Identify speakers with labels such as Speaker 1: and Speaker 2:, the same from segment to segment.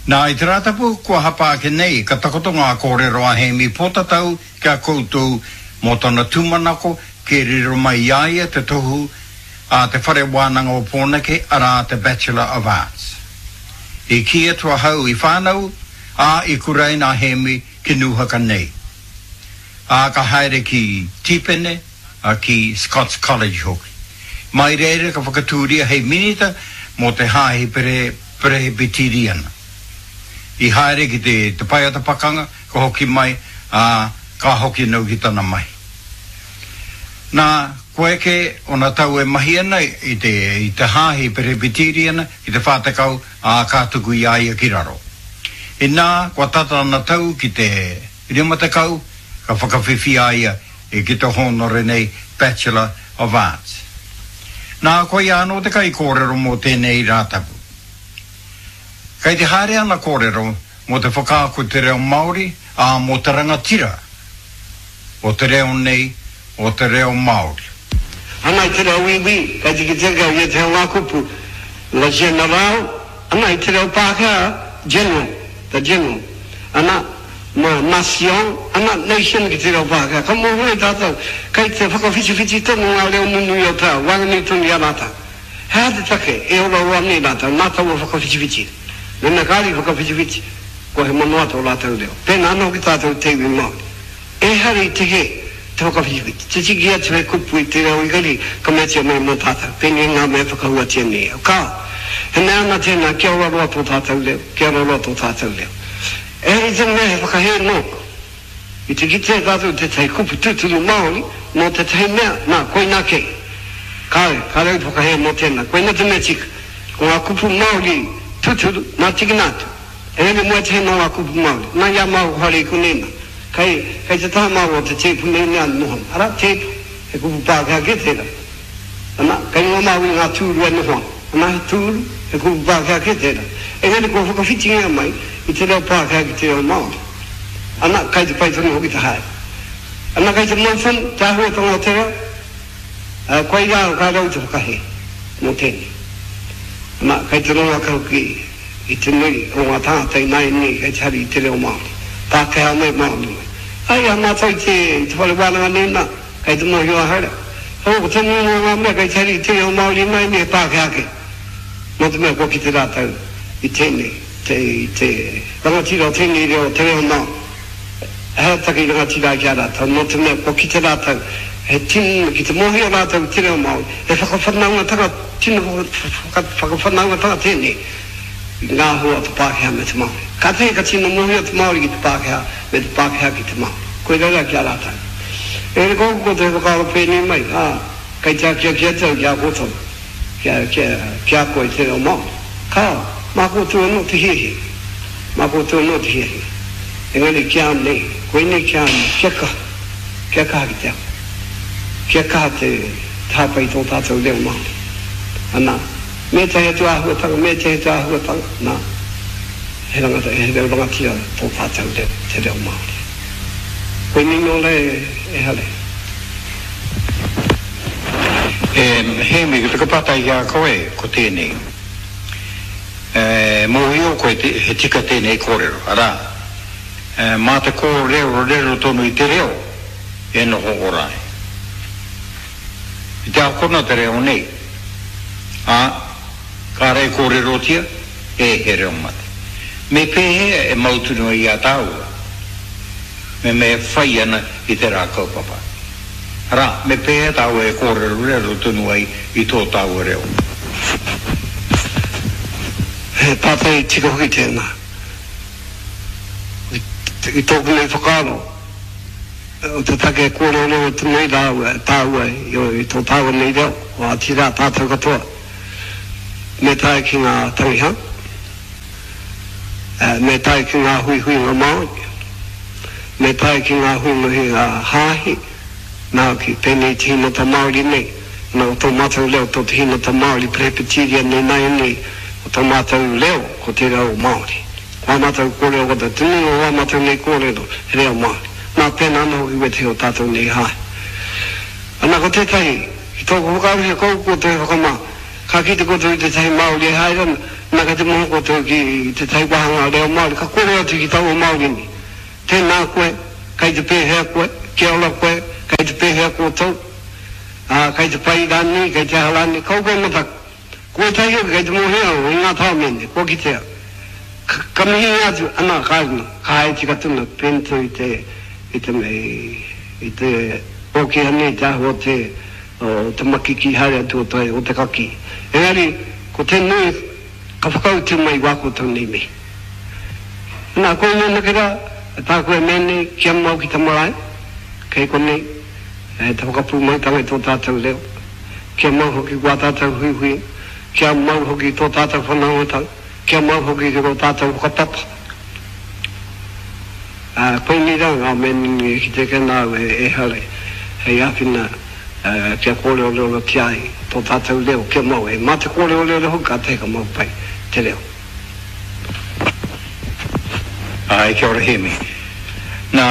Speaker 1: Nā, i te Rātapu kua hapa ake nei, ka takoto ngā kōrero a Hēmi Pōtatau ki a koutou mō tana tūmanako kia riro mai i a ia te tohu a Te Whare Wānanga o Pōneke, arā, te Bachelor of Arts. I kī atu ahau i whānau, ā, i kuraina a Hēmi ki Nūhaka nei. Ā, ka haere ki Tīpene, ā, ki Scots College hoki. Mai reira ka whakatūria hei minita mō te Hāhi Perehipitīriana. I haere ki te te paeata pakanga, ka hoki mai, ā, ka hoki anō ki tana mahi. Nā, kua eke ōna tau e mahi ana i te i te Hāhi Perehipitīriana ki te 40, ā, ka tuku i a ia ki raro. Inā, kua tata ana tau ki te 50, ka whakawhiwhia a ia E ki te hōnore nei Bachelor of Arts. Nā, koia anō te kaikōrero mō tēnei Rātapu. Kei te haere ana kōrero mō te whakaako i te reo Māori, ā, mō te rangatira o te reo nei, o te reo Māori.
Speaker 2: Ana i te reo Wīwī, kei te kitea ki a ia te hanga kupu, le general, ana i te reo Pākehā, general, the general, ana, Ma, nation, ana, nation ki te reo Pākehā. Ka mōhio e tātou, kei te whakawhitiwhiti tonu ngā reo nunui o te ao, waenganui tonu i a rātou. He aha te take e ora roa nei rātou nā taua whakawhitiwhiti? Mēnā kāore i whakawhitiwhiti, kua hemo noa tō rātou reo. Pēnā anō hoki tātou te iwi Māori. Ehara i te hē te whakawhitiwhiti, te tiki atu he kupu i te reo Ingarihi ka meatia mai mō tātou, pēnei ngā mea e whakahuatia nei e au. Kāo. He mea ana tēnā kia ora roa tō tātou reo, kia ora roa tō tātou reo. Ehara i te mea he whakahē nōku. I te kitea tātou tētahi kupu tūturu Māori mō tētahi mea, nā, koinā kei. Kāore, kāore au i te whakahē mō tēnā. Koinā te mea tika. Ko ngā kupu Māori tūturu, nā tikina atu. Engari mō ētahi nō ngā kupu Māori, nā i a māua ko haere i konei nā. Kei, kei te taha māua o te tēpu nei mea noho ana. Arā, tēpu, he kupu Pākehā kē tērā. Ana, kei runga māua i ngā tūru e noho ana. Ana, he tūru, he kupu Pākehā kē tērā. Engari kua whakawhitingia mai i te reo Pākehā ki te reo Māori. Ana, kai te pai tonu hoki te haere. Ana, kai te mau tonu te āhuatanga o te reo, ā, koirā ka rau te whakahē mō tēnei. Ana, kai te rongo ake hoki i te nui o ngā tāngata ināianei kei te hari i te reo Māori. Pākehā mai, Māori mai. Ai, a mātou i te, i te whare wānanga nei nā. Kei te mōhio ahau. Oh, ko te nuinga o ngā mea kei te hari i te reo Māori ināianei he Pākehā kē. Nō te mea kua kite rātou i tēnei, te, i te rangatira o tēnei reo, te reo Māori. He take i rangatira ai ki a rātou, nō te mea kua kite rātou, he tino, ki te mōhio rātou i te reo Māori, he whakawhanaungatanga, tino whaka, whakawhanaungatanga tēnei i ngā hua o te Pākehā me te Māori. Kātahi ka tino mōhio te Māori ki te Pākehā, me te Pākehā ki te Māori. Koirā rā ki a rātou. Engari ko aku ko te whakaaro pēnei mai, ā, kei te akiaki atu au ki a koutou, kia, kia, ki a koe te reo Māori. Kāo, mā koutou anō te hiahia. Mā koutou anō te hiahia. Engari ki a nei, koinei ki a nei, kia kaha, kia kaha ki te ako. Kia kaha te, te hāpai i tō tātou reo Māori. Anā, me ētahi atu āhuatanga, me ētahi atu āhuatanga, nā, he rangata, he reo rangatira tō tātou reo, te reo Māori. Koinei nō rā e Hare.
Speaker 1: E Hēmi, ko taku pātai ki a koe, ko tēnei. E mōhio koe he tika tēnei kōrero, arā, mā te kōrerorero tonu i te reo e noho ora ai. I te akona te reo nei, ā, kāre e kōrerotia, e he reo mate. Me pēhea e mau tonu ai i a tāua me me whai ana i tērā kaupapa? Arā, me pēhea tāua e kōrerorero tonu ai i tō tāua reo?
Speaker 2: He pātai tika hoki tēnā. I tōku nei whakaaro, o te take e kōrerorero tonu ai rāua, tāua i tō tāua nei reo, otirā tātou katoa. Me tae ki ngā tangihā, me tae ki ngā huihuinga Māori, me tae ki ngā huihuinga hāhi, nā hoki, pēnei i te hīnota Māori nei, nā, o tō mātou reo, tō te hīnota Māori Presbyterian nei nāianei, ko tō mātou reo, ko te reo Māori. Ko ā mātou kōrero katoa, te nuinga o ā mātou nei kōrero, he reo Māori. Nā, pēnā anō hoki wētehi o tātou nei hāhi. Ana, ko tētahi, Ki tōku whakaaro he koukou te whakamā. Ka kite koutou i tētahi Māori e haere ana, nā kei te moho koutou ki tētahi wāhanga reo Māori, ka kōrero atu ki taua Māori nei, Tēnā koe, kei te pēhea koe, kia ora koe, kei te pēhea koutou, ā, kei te pai rānei, kei te aha rānei, kaua koe e mataku. Ko ētahi hoki kei te mōhio au i ngā tāone, kua kitea. Ka, ka mihi atu, ana, ka, ka haere tika tonu, pēnei i te, i te, i te, ōkiha nei te āhua o te, o te makiki haere atu o te, o te kakī. Engari, ko te nui, ka whakautu mai wā koutou nei mihi. Nā, koinei anake rā, tāku e mea nei, kia mau ki te marae, kei konei, te whakapūmautanga i tō tātou reo, kia mau hoki wā tātou huihuinga, kia mau hoki tō tātou whanaungatanga, kia mau hoki ki tō tātou whakapapa. Ā, koinei rā ngā mea nunui e kite ake ana au e Hare hei āwhina kia kōrerorerotia ai tō tātou reo kia mau ai. Mā te kōrerorero hoki kātahi ka mau pai te reo.
Speaker 1: Āe, kia ora Hēmi. Nā,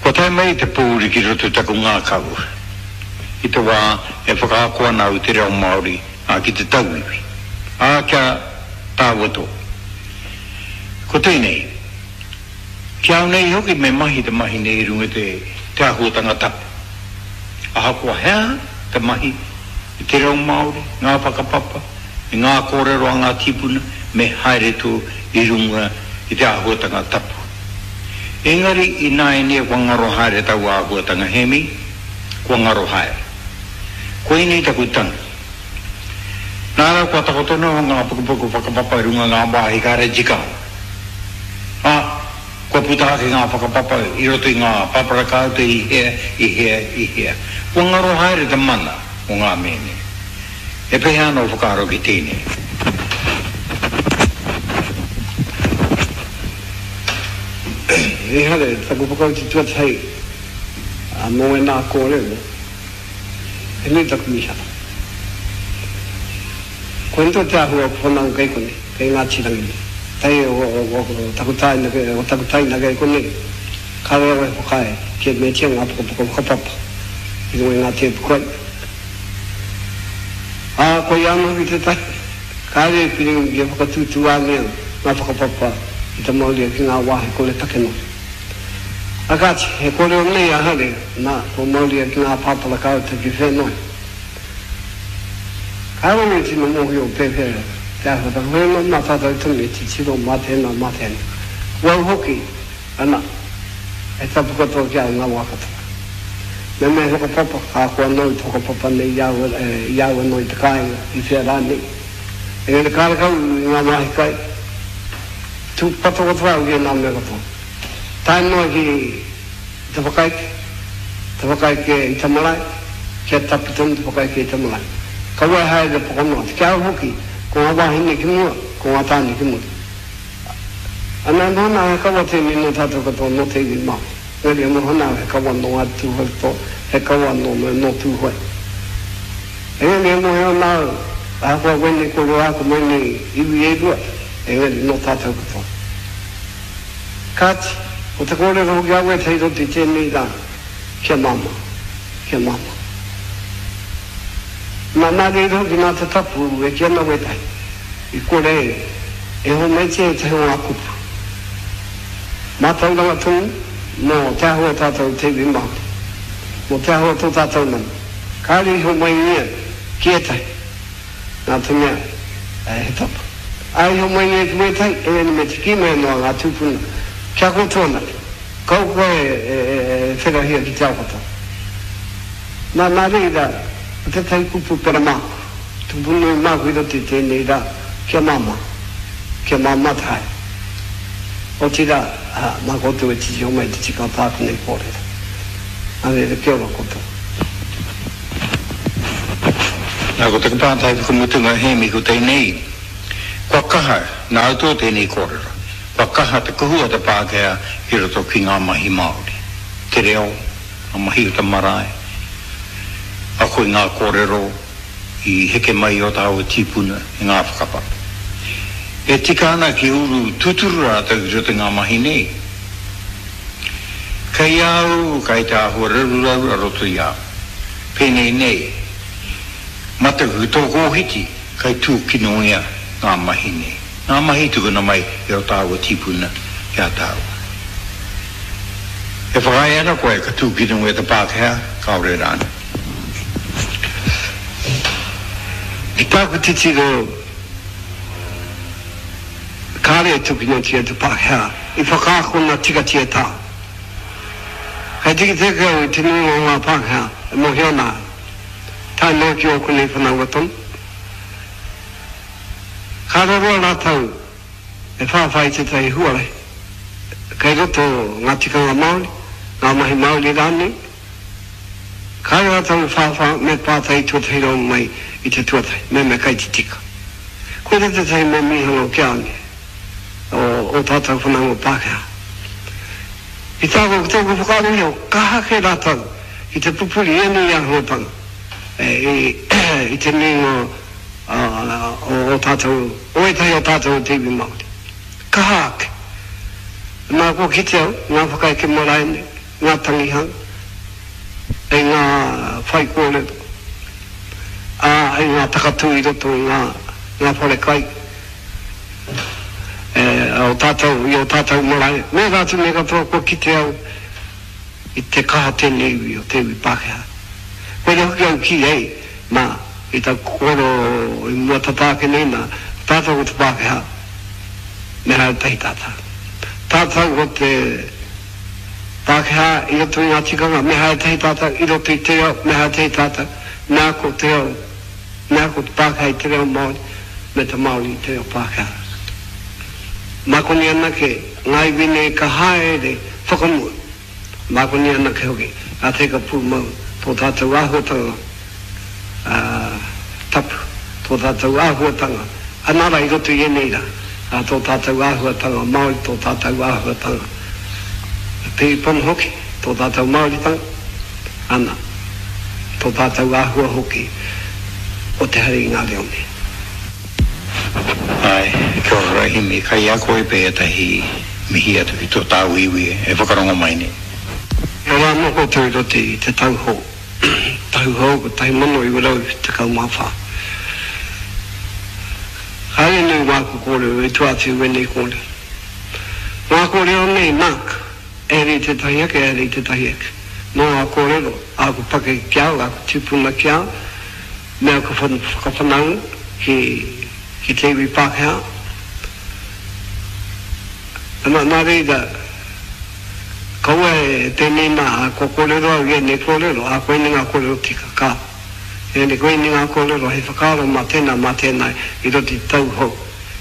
Speaker 1: kua tae mai te pōuri ki roto i taku ngākau i te wā e whakaako ana au i te reo Māori, ā, ki te tauiwi, ā, kia tāua tō. Ko tēnei, ki au nei hoki me mahi te mahi nei i runga i te, te āhuatanga tapu. Ahakoa he aha te mahi i te reo Māori, ngā whakapapa, i ngā kōrero a ngā tīpuna, me haere tō i runga i te āhuatanga tapu. Engari ināianei kua ngaro haere taua āhuatanga Hēmi, kua ngaro haere. Koinei taku tangi. Nā rā kua takoto noa ngā pukupuku whakapapa i runga ngā wāhi kāre tika. Ā, kua puta ake ngā whakapapa i roto i ngā pāparakāuta i hea, i hea, i hea. Kua ngaro haere te mana o ngā mēne. E pēhea ana ō whakaaro ki tēnei?
Speaker 2: Ehara, taku whakautu tuatahi mō ēnā kōrero. He nui taku mīharo. Koinei tonu te āhua o ku whanaunga kei konei, kei Ngāti Rangi nei. Tae o taku tāina, o taku taina kei konei, kāore au e whakaae kia meatia ngā pukapuka whakapapa i runga i ngā tēpu kai. Ā, koia anō hoki tētahi, kāore e piringi kia whakatūtūāngia ngā whakapapa i te mauria ki ngā wāhi kore take noa. A kāti, he kōrero nei a Hare, nā, kua mauria ki ngā pāpara kāuta ki whea noa. Kāore au e tino mōhio pēwhea te āhuatanga, hoi anō mā tātou tonu e titiro mā tēnā, mā tēnā. Ko au hoki, ana, he tapu katoa ki a au ngā wā katoa. Me mea he whakapapa, ka ako anō i te whakapapa nei i a au, i a au anō i te kāinga, i whea rānei. Engari kārekau i ngā wāhi kai, tūpatopatoa au ki ēnā mea katoa. Tae noa ki te whakaeke, te whakaeke i te marae, kia tapu tonu te whakaeke i te marae. Kaua e haere pokonoa atu. Ki a au hoki, ko ngā wāhine ki mua, ko ngā tāne ki muri. Ana e noho ana au he kawa tēnei nō tātou katoa, nō te iwi Māori. Engari e noho ana au he kawa nō Ngāti Tūhoutoa, he kawa nō, nō Tūhoe. Engari e mōhio ana au, ahakoa wēnei kōrero āku mai nei iwi e rua, engari nō tātou katoa. Kāti, ko te kōrero hoki a wētahi roto i tēnei rā, kia māmā, kia māmā. Nā, nā reira hoki nā te tapu e kī ana wētahi, i kore e homaitia ētahi o ngā kupu. Mātauranga tonu mō te āhua o tātou te iwi Māori, mō te āhua o tō tātou mana. Kāore i homaingia ki ētahi. Nā te mea, he tapu. Ā, i homai nei ki wētahi, engari me te kī mai anō a ngā tūpuna, Kia koutou anake, kaua koe e wherahia ki te ao katoa. Nā, nā reira, ko tētahi kupu pera māku, tupu nui māku i roto i tēnei rā, kia māmā, kia māmā te haere. Otirā, mā koutou e titiro mai te tika o tāku nei kōrero. Nā reira, kia ora koutou.
Speaker 1: Nā, ko taku pātai whakamutunga, Hēmi, ko tēnei, kua kaha, nāu tō tēnei kōrero, kua kaha te kuhu a te Pākehā ki roto ki ngā mahi Māori, te reo, ngā mahi o te marae, ako i ngā kōrero i heke mai i ō tāua tīpuna, i ngā whakapapa. E tika ana ki uru tūturu rātou ki roto i ngā mahi nei. Kei a au, kei te āhua raruraru a roto i a au. Pēnei nei. Mataku ki tōku ohiti, kai tūkinongia ngā mahi nei. Ngā mahi tukuna mai e o tāua tīpuna ki a tāua. E whakaae ana koe ka tūkinongia te Pākehā, kāore rānei?
Speaker 2: Ki tāku titiro, kāre e tūkinotia te Pākehā, i whakaakona tikatia tā. Kei tiketike au i te nuinga o ngā Pākehā e mōhio ana au. Tae noa ki ōku nei whanaunga tonu. Ka roroa rātou e whāwhā i tētahi huarahi kei roto ngā tikanga Māori, ngā mahi Māori rānei. Kāore rātou e whāwhā me pātai i tuatahi rawa mai i te tuatahi, mehemea kei te tika. Koirā tētahi mea mīharo ki a au nei, o ō tātou whanaunga Pākehā. I tāku, ki tōku whakaaro iho, kaha kē rātou ki te pupuri i ēnei āhuatanga i te nuinga o ō tātou, o ētahi o tātou o te iwi Māori. Kaha ake. Nā, kua kite au, ngā whakaeke marae nei, ngā tangihanga, i ngā whaikōrero, ā, i ngā takatū i roto i ngā, ngā whare kai. E o tātou, i o tātou marae, me ērā atu mea katoa kua kite au i te kaha tēnei iwi o te iwi Pākehā. Koira hoki au kī ai, nā, i taku kōrero i mua tata ake nei, nā, ko tātou ko te Pākehā, me haere tahi tātou. Tātou ko te Pākehā i roto i ngā tikanga, me haere tahi tātou, i roto i te reo, me haere tahi tātou, me ako te reo. Mea ko te Pākehā i te reo Māori me te Māori i te reo Pākehā. Mā konei anake ngā iwi nei ka haere whakamua. Mā konei anake hoki ka teka pūmau tō tātou āhuatanga tapu, tō tātou āhuatanga anā rā i roto i ēnei rā, tō tātou āhuatanga Māori, tō tātou āhuatanga piripono hoki, tō tātou Māoritanga. Ana, tō tātou āhua hoki o te hari i ngā reo nei.
Speaker 1: Āe, kia ora Rahimi, kai a koe pea ētahi mihi atu ki tō tāu iwi e whakarongo mai nei.
Speaker 2: Kia ora anō koutou i roto i te tau hou, tau hou 1914. Kāore nui wāku kōrero i tua atu i wēnei kōrero. Ngā kōrero nei, nāku. Ehara i tētahi ake, ehara i tētahi ake. Nō ngā kōrero, āku pakeke ki a au, āku tūpuna ki a au, me aku whakawhanaunga ki, ki te iwi Pākehā. Ana, nā reira, kaua e pēnei nā, ā, kua kōrero au i ēnei kōrero, ā, koinei ngā kōrero tika, ka. Engari koinei ngā kōrero hei whakaaro mā tēnā, mā tēnā i roto i te tau hou,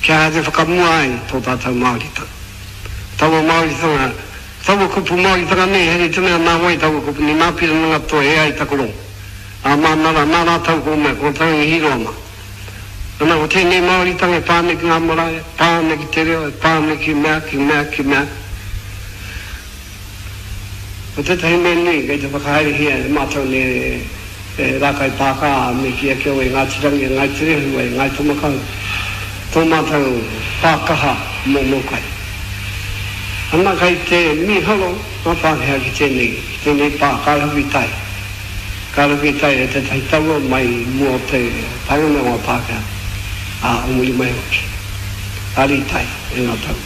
Speaker 2: kia haere whakamua ai tō tātou Māoritanga. Taua Māoritanga, taua kupu Māoritanga nei, here te mea nā wai taua kupu nei, nā Pirana Ngatoe e ai taku rongo. Ā, māna rā, nā rātou ko mea, ko Tangi Hiroa mā. Ana, ko tēnei Māoritanga e pā ana ki ngā marae, e pā ana ki te reo, e pā ana ki mea, ki mea, ki mea. Ko tētahi mea nui kei te whakahaerehia e mātou nei e Rākai Pākā me kī ake au e Ngāti Rangi, e Ngāi Te Rehu, e Ngāi Tamakau, tō mātou pā kaha mō Mōkai. Ana kei te mīharo ngā Pākehā ki tēnei, ki tēnei pā, ka rahui tai. Ka rahui tai e tētahi taua mai i mua o te taenga mai o ngā Pākehā, ā, o muri mai hoki. Ka rītai e ngā taua.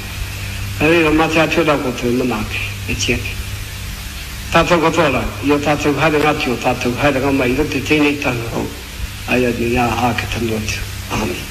Speaker 2: Nā reira, mā te Atua rā koutou e manaaki, e tiaki. Tātou katoa rā, i ō tātou haerenga atu, ō tātou haerenga mai i roto i tēnei tau hou, āianei, ā, āke tonu atu. Āmine.